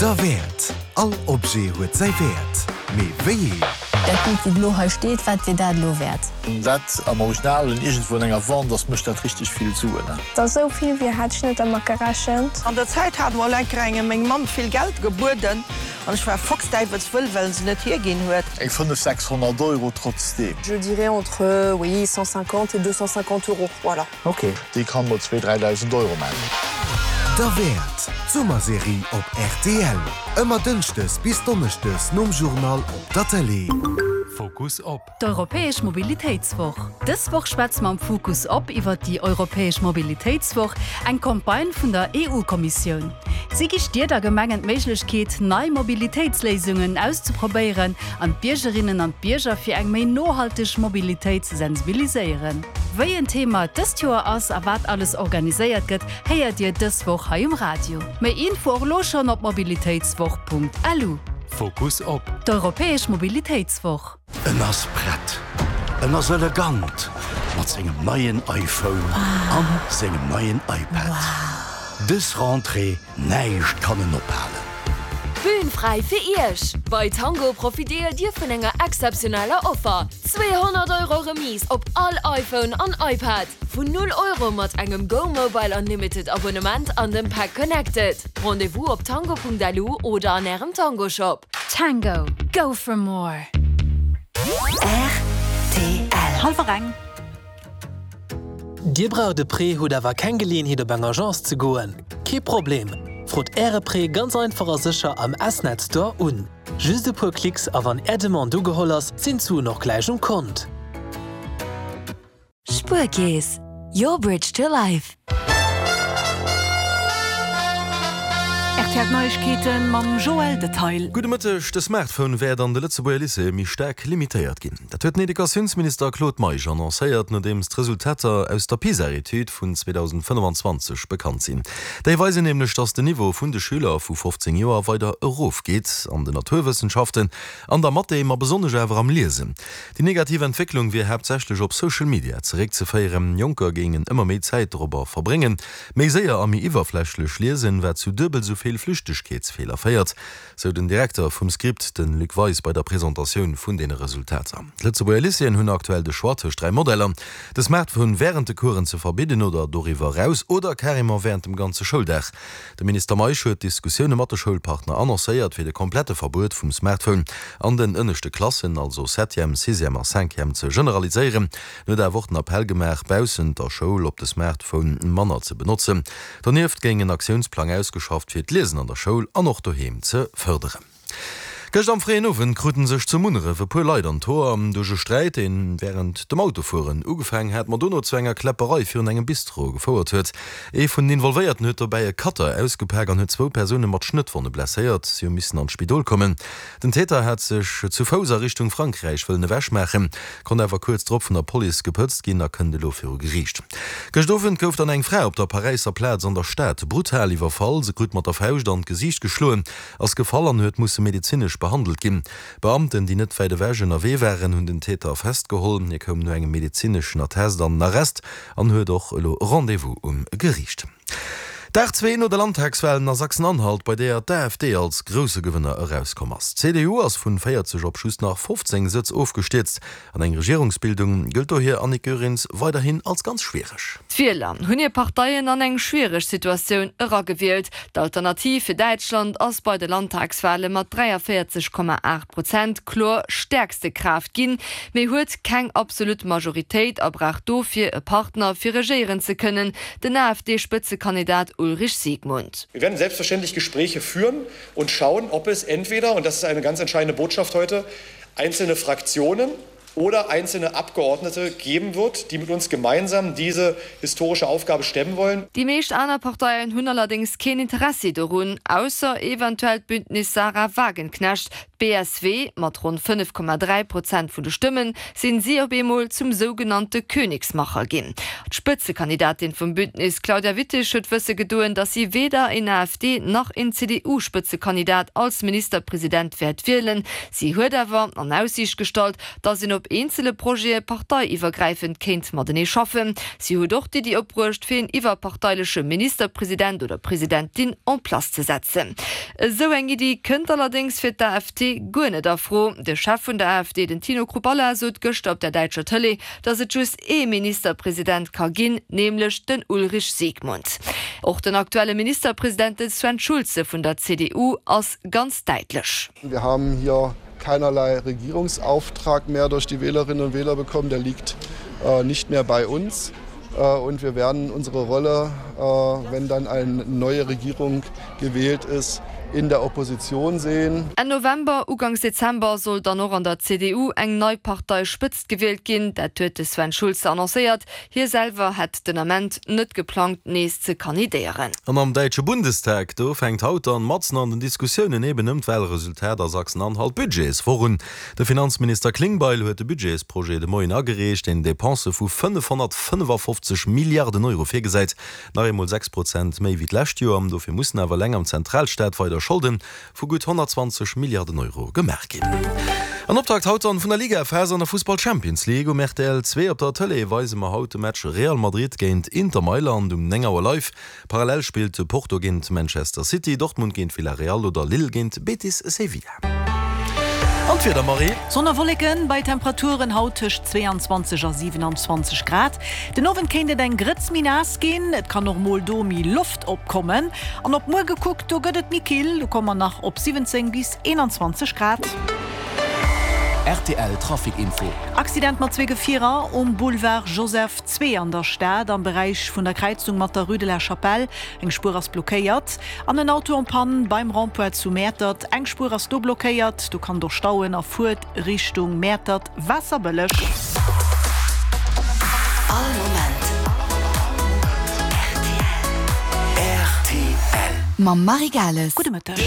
Derwäert! All Objet huet säi Wäert, mee wéi een? Dat Bild wou elo hei steet, wat wier dat elo wäert? Dat am Original iergendwou an enger Wand ass, mécht dat richteg vill Suen. Dass esou vill wier hat ech net dermat gerechent. An der Zäit hat mol enker engem meng Mamm vill Geld gebueden an ech war foxdäiwelswëll, well se net hierginn huet. Eng 5, 600 Euro trotzdeem. Je dirais entre, oui, 150 et 250 euros, voilà. Ok, déi kann mol zwee, 3.000 Euro man. Derwäert, d'Summerserie op rtl. Ëmmer dënschdes bis donneschdes nom Journal op der Tëlee. Fokus op. D'Europäesch Mobilitéitswoch. Dës Woch schwätze mer am Fokus op iwwer déi Europäesch Mobilitéitswoch, eng Campagne vun der EU-Kommissioun. Si gi Stied a Gemengen d'Méiglechkeet, nei Mobilitéitsléisungen auszeprobéieren an d'Biergerinnen an d'Bierger fir eng méi nohalteg Mobilitéit ze sensibiliséieren. Wéi en Thema et dëst Joer ass a wat alles organiséiert gëtt, héiert Dir dës Woch hei um Radio. Méi Info och elo schonn op mobilitéitswoch.lu. Fokus op. D'Europäesch Mobilitéitswoch. En ass prett, en ass elegant mat sengem neien iPhone an sengem neien iPad. Dës Rentrée, näischt kann en ophalen. D'Bühn fräi fir Iech! Bei Tango profitéiert Dir vun enger exzeptioneller Offer, 200 Euro Remise op all iPhone an iPad vun 0 Euro mat engem Go Mobile Unlimited Abonnement an dem Pack Connected. Rendez-vous op tango.lu oder an Ärem Tango Shop. Tango, go for more! Rtl. Hallwer eng. Dir braucht e Prêt, hutt awer keng Geleeënheet op eng Agence ze goen? Kee Problem! Frot Äre Prêt ganz einfach a sécher am S-Net Store un. Just e puer Klicks a wann Är Demande ugeholl ass, sinn d'Suen och gläich um Kont. Spuerkeess, your bridge to life. Rtl Neiegkeeten mam Joël Detail. Gudde Mëtteg, De Smartphone wäert an de Lëtzebuerger Lycéeë méi staark limitéiert ginn. Dat huet den Educatiounsminister Claude Meisch annoncéiert, nodeems d'Resultater aus der PISA-Etüd vun 2025 bekannt sinn. Déi weisen nämlech, datt den Niveau vun de Schüler vu 15 Joer weider erofgeet, an den Naturwëssenschaften, an der Mathé, ma besonnesch awer am Liesen. Déi negativ Entwécklung wier haaptsächlech op Social Media zeréckzeféieren. Jonker géingen ëmmer méi Zäit dorobber verbréngen, méi séier a méi iwwerflächlech liesen, wat zu duebel sou vill Flüchtegkeetsfeeler féiert, sou den Direkter vum Script, de Luc Weis, bei der Presentatioun vun deene Resultater. D'Lëtzebuerger Lycéeën hunn aktuell de Choix tëscht 3 Modeller, de Smartphone wärend de Coursen ze verbidden oder doriwwer eraus oder carrément wärend dem ganze Schouldag. De Minister Meisch huet Diskussioune mat de Schoulpartner annoncéiert, fir de komplette Verbuet vum Smartphone an den ënneschte Klassen, also Septième, Sixième a Cinquième, ze generaliséieren. En huet awer och den Appell gemaach, baussent der Schoul op de Smartphone manner ze benotzen. Donieft géing en Aktiounsplang ausgeschafft, fir d'Liesen an der Schoul an och doheem ze fërderen. Gëscht am fréien Owend kruten sech zu Munneref e puer Leit an d'Hoer duerch e Sträit, deen wärend dem Autofueren ugefaangen hat, ma dono zu enger Kläpperei virun engem Bistro gefouert huet. Ee vun den Involvéierten huet dobäi e Cutter ausgepak an huet zwou Persoune mat Schnëttwonne blesséiert. Si hu missen an d'Spidol kommen. Den Täter hat sech zu Fouss a Richtung Frankräich wëllen ewechmaachen, konnt awer kuerz drop vun der Police gepëtzt ginn a kënnt elo viru Geriicht. Gëscht Owend gouf dann eng Fra op der Paräisser Plaz an der Stad brutal iwwerfall. Se krut mat der Fauscht an d'Gesiicht geschloen. Ass gefall an huet musse medezinesch behandelt ginn. Beamten, déi net wäit ewech ënnerwee waren, hunn den Täter festgeholl. Hie koum no engem medezineschen Attest an den Arrest an huet och elo Rendez-vous um Geriicht. Dag zwee no de Landtagswalen a Sachsen-Anhalt, bei deeër d'AfD als grousse Gewënner erauskomm ass. D'CDU ass vun 40 op just nach 15 Sëtz ofgestierzt. An eng Regierungsbildung gëllt dohier Annick Goerens weiderhin als ganz schwiereg. D'Wieler hunn hir Parteien an eng schwiereg Situatioun eragewielt. D'Alternativ fir Däitschland ass bei de Landtagswale mat 43,8 Prozent kloer stäerkste Kraaft ginn, mee huet keng absolut Majoritéit a brauch dofir e Partner, fir regéieren ze kënnen, den AfD-Spëtzekandidat Ulrich Siegmund. Wir werden selbstverständlich Gespräche führen und schauen, ob es entweder, und das ist eine ganz entscheidende Botschaft heute, einzelne Fraktionen oder einzelne Abgeordnete geben wird, die mit uns gemeinsam diese historische Aufgabe stemmen wollen. Déi meescht aner Parteien hunn allerdéngs keen Interessi dorun, ausser eventuell d'Bündnis Sahra Wagenknecht. D'BSW, mat ronn 5,3 Prozent vun de Stëmmen, sinn si op eemol zum sougenannte Königsmacher ginn. D'Spëtzekandidatin vum Bündnis, Claudia Wittig, huet wësse gedoen, datt si weder een AfD nach een CDU-Spëtzekandidat als Ministerpresident wäert wielen. Si huet awer an Aussiicht gestallt, datt een op eenzele Projete parteiiwwergräifend kéint matenee schaffen. Si huet och d'Iddi opbruecht, fir een iwwerparteileche Ministerpresident oder Presidentin en place ze setzen. Esou eng Iddi kënnt allerdéngs fir d'AfD guer net a Fro. De Chef vun der AfD, den Tino Chrupalla, sot gëschter op der däitscher Tëlee, datt et just ee Ministerpresident ka ginn, nämlech den Ulrich Siegmund. Och den aktuelle Ministerpresident, de Sven Schulze vun der CDU, ass ganz däitlech. Wir haben hier keinerlei Regierungsauftrag mehr durch die Wählerinnen und Wähler bekommen, der liegt nicht mehr bei uns. Und wir werden unsere Rolle, wenn dann eine neue Regierung gewählt ist, in der Opposition sehen. Enn November, Uganks Dezember soll dann och an der CDU eng nei Parteispëtzt gewielt ginn. Dat huet de Sven Schulze annoncéiert. Hie selwer hätt den Ament net geplangt, nees ze kandidéieren. An am däitsche Bundestag, do fänkt haut dann matzen an den Diskussiounen eben ëm d'Wahlresultat a Sachsen-Anhalt d'Budgetswoch un. De Finanzminister Klingbeil huet de Budgetsprojet de Moien agereecht, deen Depensë vu 555 Milliarden Euro virgesäit, nach eemol 6 Prozent méi wéi d'lescht Joer. Dofir mussen awer eleng am Zentralstaat weider Scholde vu gutt 120 Milliarden Euro gemaach ginn. An Optakt haut dann vun der Ligaphas an der Fussball Champions League. Um rtl 2 op der Tëlee weise mer haut de Match Real Madrid géint Inter Mailand um 9 Auer live. Parallel spillt Porto géint Manchester City, Dortmund géint Villarreal oder Lille géint Betis Sevilla. An d'Wieder, Marie? Sonn a Wolleken bei Temperaturen haut tëscht 22 a 27 Grad. Den Owend kéint et eng Grëtz méi naass ginn, et kann och mol do méi Loft opkommen. An op muer gekuckt, do gëtt et méi kill, do komme mer nach op 17 bis 21 Grad. Rtl Trafic Info. Accident mat zwee Gefierer um Boulevard Joseph II an der Stad am Beräich vun der Kräizung mat der Rue de la Chapelle. Eng Spuer ass blockéiert an en Auto en panne beim Rond-point zu Mäertert. Eng Spuer ass do blockéiert, do kann et och stauen a fuert Richtung Mäertert Waasserbëlleg. All Moment rtl. Mam Marie Gales. Gudde Mëtteg.